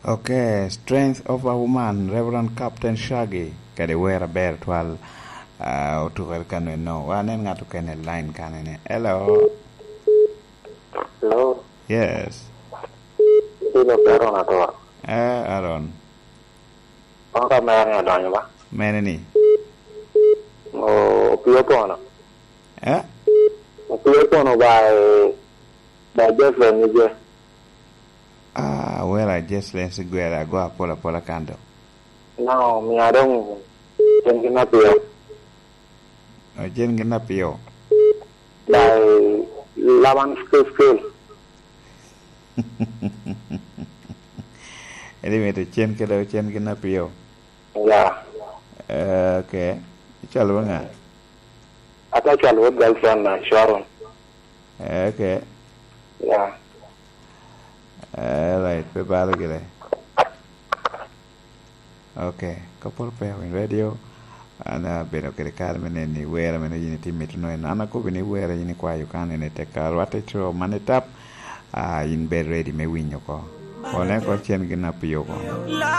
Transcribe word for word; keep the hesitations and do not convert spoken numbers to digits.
Okay, Strength of a Woman, Reverend Captain Shaggy, kadi wer aber twal, ah, otukere kano eno. Wa nen ŋat okene i line kanene. Hello. Hello. Yes. Ilo Aaron Ator. Eh, Aaron. Wan ka mere ni adonyo ba? Mene ni? O, opio pono. Eh? Opio pono ba, eh, ba Jocelyn ni je. Ah, wera Jocelyn Sigwera ago apola apola kanto. No, mi adong, en gin apio. Ojen gin apio. By Laban School School. Edi mito cen kede ocen gin apio. Ya. Eh, okay. Icalo ba ŋa? Ata cwal wot girlfriend na Sharon. Eh, okay. Ya. Eh, right. Pe balo gire. Ok, Couple Pair Win Radio. An abedo kede kare me neno ni wer ame yin itye mito nongo en. An akobo ni wer yin ikwayo kan en i teka rwatte co man itap, ah, yin bed ready me winyo oko. One oko cen gin apio kono.